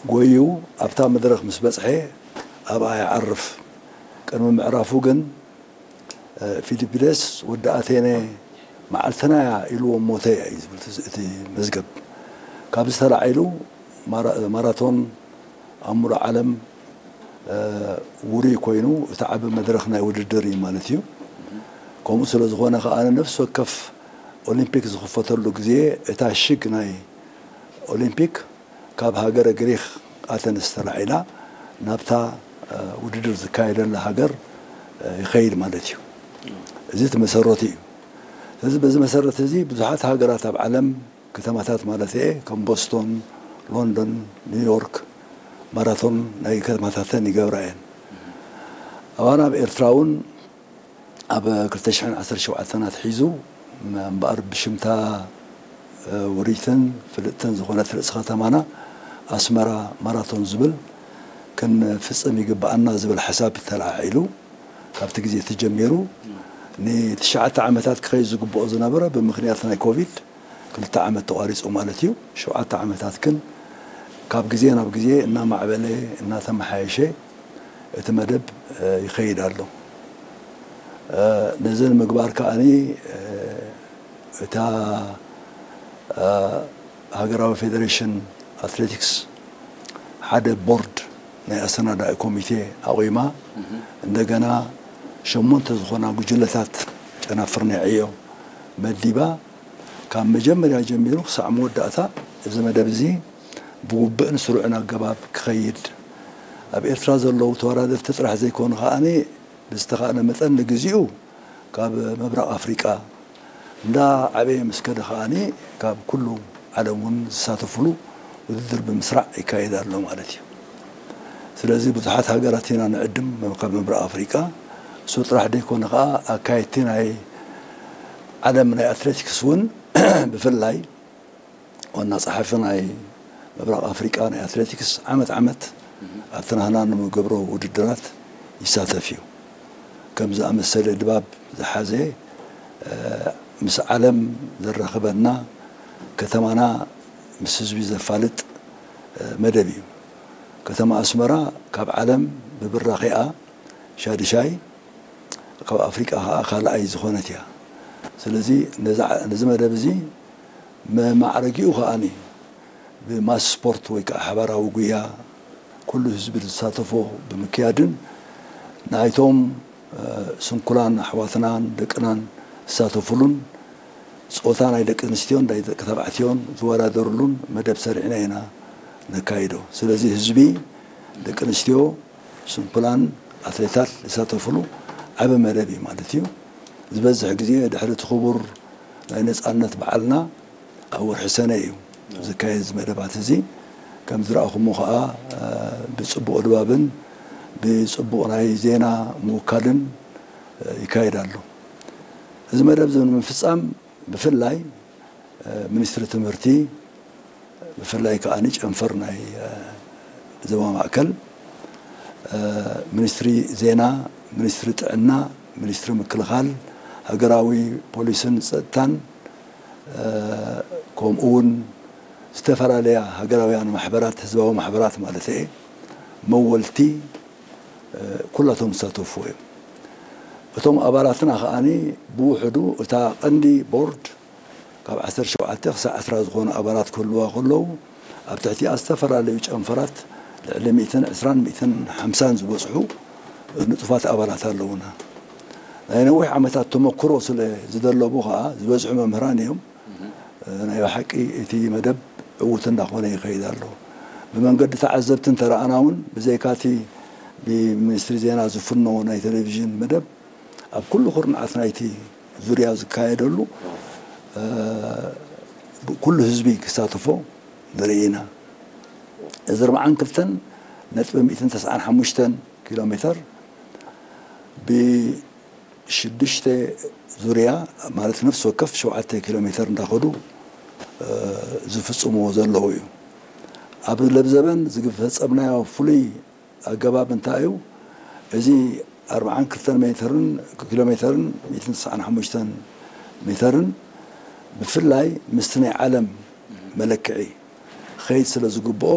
ጎዩ ኣብታ መድረኽ ምስ በጽሐ ኣብኣ ይዓርፍ። ቅድሚ ምዕራፉ ግን ፊሊፒደስ ወዲ ኣቴነ መዓልትና እያ ኢልዎ ሞተ እያ እዩ ዝብል እቲ መዝገብ። ካብዚ ተላዒሉ ማራቶን ኣብ ሙሉእ ዓለም ውሩይ ኮይኑ እቲ ዓቢ መድረኽ ናይ ውድድር እዩ ማለት እዩ። ከምኡ ስለ ዝኾነ ከኣ ነፍሲ ወከፍ ኦሊምፒክ ዝኽፈተሉ ግዜ እታ ሽግ ናይ ኦሊምፒክ ካብ ሃገረ ግሪክ ኣተንስ ተላዒላ ናብታ ውድድር ዝካየደላ ሃገር ይኸይድ ማለት እዩ። እዚ እቲ መሰረቱ እዩ። ስለዚ በዚ መሰረት እዚ ብዙሓት ሃገራት ኣብ ዓለም ከተማታት ማለት እየ ከም ቦስቶን፣ ሎንዶን፣ ኒውዮርክ ማራቶን ናይ ከተማታተን ይገብራ እየን። ኣባና ኣብ ኤርትራ እውን ኣብ ክልተ ሽሕን ዓሰርተ ሸውዓተን ኣትሒዙ እምበኣር ብሽምታ ውርይትን ፍልጥትን ዝኾነት ርእሲ ከተማና ኣስመራ ማራቶን ዝብል ክንፍጽም ይግብኣና ዝብል ሓሳብ ተለዓዒሉ ካብቲ ግዜ ተጀሚሩ ንትሽዓተ ዓመታት ክኸይድ ዝግብኦ ዝነበረ ብምኽንያት ናይ ኮቪድ ክልተ ዓመት ተቋሪጹ ማለት እዩ። ሸውዓተ ዓመታት ግን ካብ ግዜ ናብ ግዜ እናማዕበለ እናተመሓየሸ እቲ መደብ ይኸይድ ኣሎ። ነዚ ንምግባር ከኣኒ እታ ሃገራዊ ፌደሬሽን ኣትሌቲክስ ሓደ ቦርድ ናይ ኣሰናዳኢ ኮሚቴ ኣቑማ እንደገና ሸሞንተ ዝኾና ጉጅለታት ጨናፍር ናይ ዕዮ መዲባ ካብ መጀመርያ ጀሚሩ ክሳዕ መወዳእታ እዚ መደብ እዚ ብውብእን ስሩዕን ኣገባብ ክኸይድ ኣብ ኤርትራ ዘለዉ ተወዳደርቲ ጥራሕ ዘይኮኑ ከኣ ብዝተኻእለ መጠን ንግዚኡ ካብ ምብራቕ ኣፍሪቃ እንዳ ዓበየ ምስ ከደ ከኣ ካብ ኩሉ ዓለም እውን ዝሳተፍሉ ውድድር ብምስራዕ ይካየድ ኣሎ ማለት እዩ። ስለዚ ብዙሓት ሃገራት ኢና ንዕድም ካብ ምብራቕ ኣፍሪቃ እሱ ጥራሕ ዘይኮነ ከኣ ኣካየድቲ ናይ ዓለም ናይ ኣትሌቲክስ እውን ብፍላይ ዋና ጸሓፊ ናይ ምብራቕ ኣፍሪቃ ናይ ኣትሌቲክስ ዓመት ዓመት ኣብቲ ናህና ንምገብሮ ውድድራት ይሳተፍ እዩ። ከም ዝኣመሰለ ድባብ ዝሓዘ ምስ ዓለም ዘራኽበና ከተማና ምስ ህዝቢ ዘፋልጥ መደብ እዩ። ከተማ ኣስመራ ካብ ዓለም ብብራኺኣ ሻድሻይ ካብ ኣፍሪቃ ከዓ ካልኣይ ዝኾነት እያ። ስለዚ ነዚ መደብ እዚ መማዕረጊኡ ከኣኒ ብማስ ስፖርት ወይ ከዓ ሓባራዊ ጉያ ኩሉ ህዝቢ ዝሳተፎ ብምክያድን ናይቶም ስንኩላን ኣሕዋትናን ደቅናን ዝሳተፉሉን ፆታ ናይ ደቂ ኣንስትዮን ናይ ደቂ ተባዕትዮን ዝወዳደሩሉን መደብ ሰሪዕና ኢና ነካይዶ። ስለዚ ህዝቢ ደቂ ኣንስትዮ ስንኩላን ኣትሌታት ዝሳተፍሉ ዓቢ መደብ እዩ ማለት እዩ። ዝበዝሕ ግዜ ድሕሪ እቲ ክቡር ናይ ነፃነት በዓልና ኣብ ወርሒ ሰነ እዩ ዝካየድ እዚ መደባት እዚ። ከም ዝረኣኹሞ ከዓ ብፅቡቕ ድባብን ብፅቡቕ ናይ ዜና ምውካልን ይካየድ ኣሎ። እዚ መደብ እዚ ንምፍፃም ብፍላይ ሚኒስትሪ ትምህርቲ ብፍላይ ከዓ ጨንፈር ናይ ዞባ ማእከል ሚኒስትሪ ዜና፣ ሚኒስትሪ ጥዕና፣ ሚኒስትሪ ምክልኻል፣ ሃገራዊ ፖሊስን ፀጥታን ከምኡ እውን ዝተፈላለያ ሃገራውያን ማሕበራት ህዝባዊ ማሕበራት ማለት እየ መወልቲ ኩላቶም ዝሳተፉ እዮም። እቶም ኣባላትና ከዓኒ ብውሕዱ እታ ቀንዲ ቦርድ ካብ ዓሰርተ ሸውዓተ ክሳብ ዕስራ ዝኾኑ ኣባላት ክህልዋ ከለዉ ኣብ ትሕቲኣ ዝተፈላለዩ ጨንፈራት ልዕሊ ሚእትን ዕስራን ሚእትን ሓምሳን ዝበፅሑ ንጡፋት ኣባላት ኣለዉና። ናይ ነዊሕ ዓመታት ተመክሮ ስለ ዝደለቡ ከዓ ዝበዝሑ መምህራን እዮም። ናይ ብሓቂ እቲ መደብ ዕዉት እንዳኾነ ይኸይድ ኣሎ። ብመንገዲ ተዓዘብቲ እንተረኣና እውን ብዘይካቲ ብሚኒስትሪ ዜና ዝፍኖ ናይ ቴሌቪዥን መደብ ኣብ ኩሉ ኩርናዓት ናይቲ ዙርያ ዝካየደሉ ኩሉ ህዝቢ ክሳተፎ ንርኢ ኢና። እዚ ኣርብዓን ክልተን ነጥቢ ሚእትን ተስዓን ሓሙሽተን ኪሎ ሜተር ብሽዱሽተ ዙርያ ማለት ነፍሲ ወከፍ ሸውዓተ ኪሎ ሜተር እንዳኸዱ ዝፍፅምዎ ዘለዉ እዩ። ኣብ ለብዘበን ዝፈፀምናዮ ፍሉይ ኣገባብ እንታይ እዩ? እዚ ኣርብዓን ክልተን ሜተርን ኪሎ ሜተርን ሚእትን ተስዓን ሓሙሽተን ሜተርን ብፍላይ ምስቲ ናይ ዓለም መለክዒ ክኸይድ ስለ ዝግብኦ